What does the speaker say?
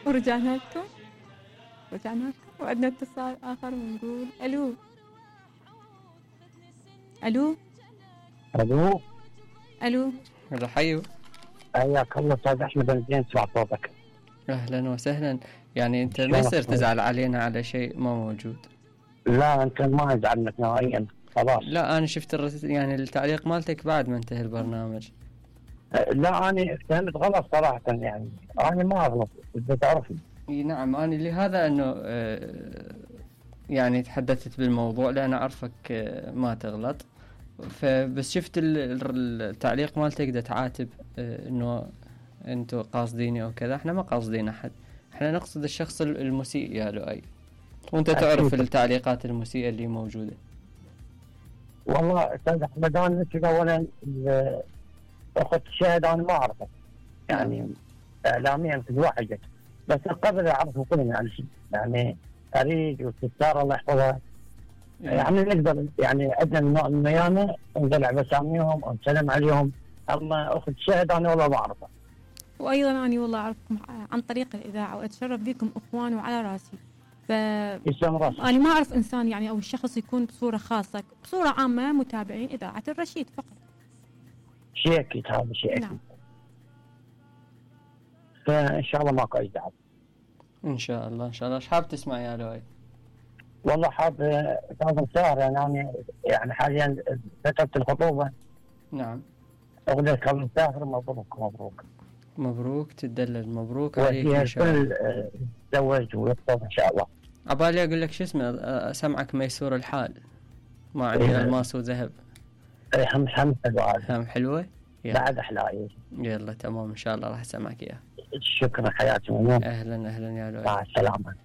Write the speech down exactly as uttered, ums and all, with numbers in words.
ورجعنا لكم رجعنا لكم وعندنا اتصال آخر ونقول ألو. ألو الو ألو هلا حيو. حياك الله استاذ احمد، انا زين اسمع صوتك. اهلا وسهلا. يعني انت ما يصير تزعل علينا على شيء ما موجود. لا انت ما ازعلك نهائيا خلاص. لا انا شفت الرس... يعني التعليق مالتك بعد ما انتهى البرنامج. لا انا فهمت غلط صراحه، يعني انا ما اغلط اذا تعرفني. اي نعم، انا لهذا انه آه يعني تحدثت بالموضوع لان اعرفك آه ما تغلط، فبس شفت التعليق مالتك دا تعاتب آه انه انتوا قاصديني او كذا. احنا ما قاصدين احد، احنا نقصد الشخص المسيء يا لؤي، وانت تعرف التعليقات المسيئة اللي موجودة. والله استاذ احمد انا كذا اولا اخذت شاهد انا ما اعرفه، يعني اعلاميا في الواحد بس قبل اعرفه كلنا يعني شيء، يعني اريد والستار الله يحفظها يعني نقدر يعني عندنا نوع من الميانه نطلع بساميهم ونسلم عليهم، اما اخذ شاهد انا والله ما اعرفه. وايضا انا والله اعرفكم عن طريق الاذاعه واتشرف بكم اخوان وعلى راسي. ف انا ما اعرف انسان يعني او شخص يكون بصوره خاصه، بصوره عامه متابعين اذاعه الرشيد فقط. شيء اكيد هذا شيء اكيد. نعم. فان شاء الله ماكو اي دعوه. ان شاء الله ان شاء الله. ايش حاب تسمع يا لؤي؟ والله حاب استاذ مسار، يعني انا يعني حاليا فتره الخطوبه. نعم. اغنيه كم مسافر. مبروك مبروك مبروك تدلل. مبروك عليك ان شاء الله. تزوج ويخطب ان شاء الله. عبالي اقول لك شو اسمه، اسمعك ميسور الحال ما عندي الماس وذهب. اي هم هم حلوه هم حلوه بعد احلى. يلا تمام ان شاء الله راح اسمعك اياها. شكرا حياتي. اهلا اهلا يا لؤي. مع السلامه.